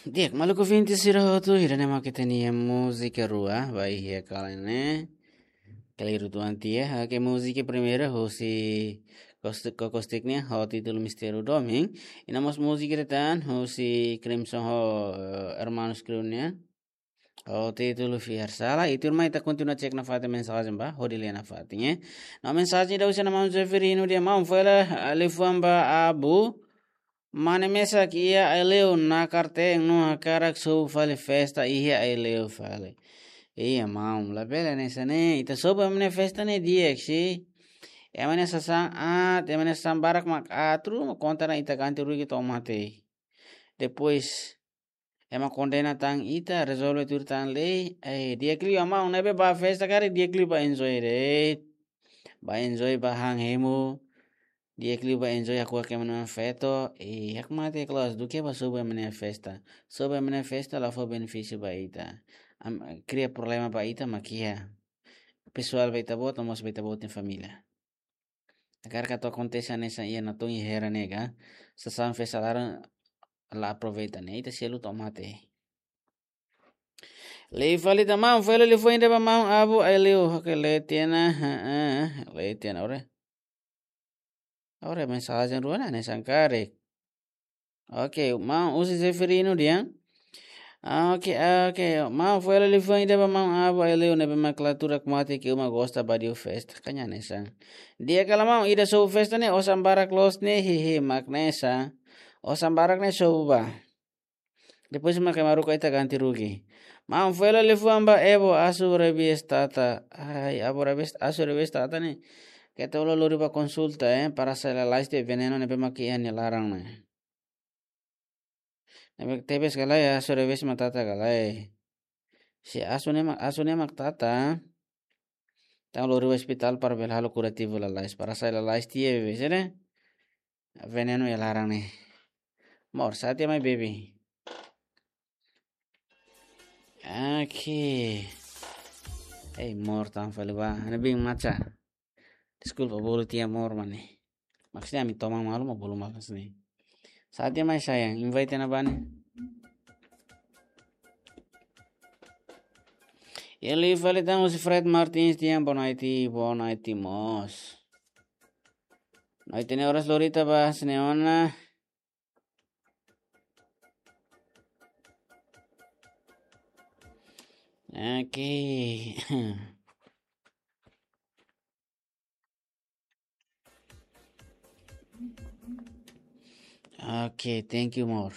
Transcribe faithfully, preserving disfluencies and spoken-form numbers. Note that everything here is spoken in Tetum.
Di'ak, maluk ouvinte sira hotu, ida-ne'e mak ita-nia múzika rua, ba iha kala ne'e. Kali rua tuan tia, oke, múzika primeira, husi Kos-, Kokostik nian, ho títulu Mistériu Domin. I no mós múzika ida tan, husi Crimson ho, eh, Hermanos Crew nian. Ho títulu Fiar Sala. I tuirmai ita kontinua cek nafatin mensajen ba, hodi lee nafatin, eh. No mensajen ida husi maun Zeferino dehan maun fali, ah, liafuan ba Abu. Mane mesak iha Aileu nakar teen no hakarak sobu fali festa iha Aileu fali. Iha maun, labele hanesan ne'e, ita sobu ema nia festa ne'e di'ak, si. Ema nia sasán aat, ema nia sasán barak mak aat, ruma kontra ita ganti rugi to'o mate. Depois, ema kondena tan ita, rezolve tuir tan lei, eh, di'ak liu maun, ne'ebé ba festa karik di'ak liu ba enjoy de'it. Ba enjoy ba han hemu, di'ak liu ba enjoy hakuak ema nia feto, eh, hakmatek loos, duké ba sobu ema nia festa. Sobu ema nia festa la fó benefísiu ba ita. Am-, kria problema ba ita mak iha. Pesoál ba ita-boot, no mós ba ita-boot nia família. Agora katu akontese hanesan iha Natun i Hera ne'e ka. Sasán festa laran la aproveita ne'e. Ita selu to'o mate. Lee fali tan maun, fali liafuan ida ba maun Abu Aileu, oke, lee tiha ona, ha, ha, lee tiha ona, ore. Ore, mensajen rua ne'e hanesan karik. Oke, maun husi Zeferino dehan. Ah, oke, ah, oke. Maun fali liafuan ida ba maun Abu Aileu ne'ebé mak la tuur hakmatek ke uma gosta ba diu festa. Ka nia hanesan. Di'ak ka lae maun, ida sobu festa ne'e osan barak loos ne'e, hehe, mak hanesan. Osan barak ne'e sobu ba. Depois mak ema haruka ita ganti rugi. Maun fali liafuan ba Ebo, asu rebies tata. Ai, abu rebies, asu rebies tata ne'e. Keta hola lori ba konsulta, eh, para sai lalais tiha venenu ne'ebé mak iha nia laran ne'e. Ne'ebé tebes ka lae, asu rebies mak tata ka lae. Se asu ne'e mak, asu ne'e mak tata. Entaun lori ba ospitál para bele halo kurativu lalais, para sai lalais tiha bebé, sira. Venenu iha laran ne'e. Mor, sa'e tiha mai bebé. Oke. Ei, mor tan fali ba. Ana bin maca. Deskulpa, bolu tiha mor mane. Maksudnya ami toman malu mak bolu malu sini. Sa'e tiha mai sayang, invite ona ba ne'e. Lee fali tan husi Fred Martins dehan boa noite, boa noite mós. Noite ne'e oras lori ita ba sine ona. Oke. Oke, thank you mor.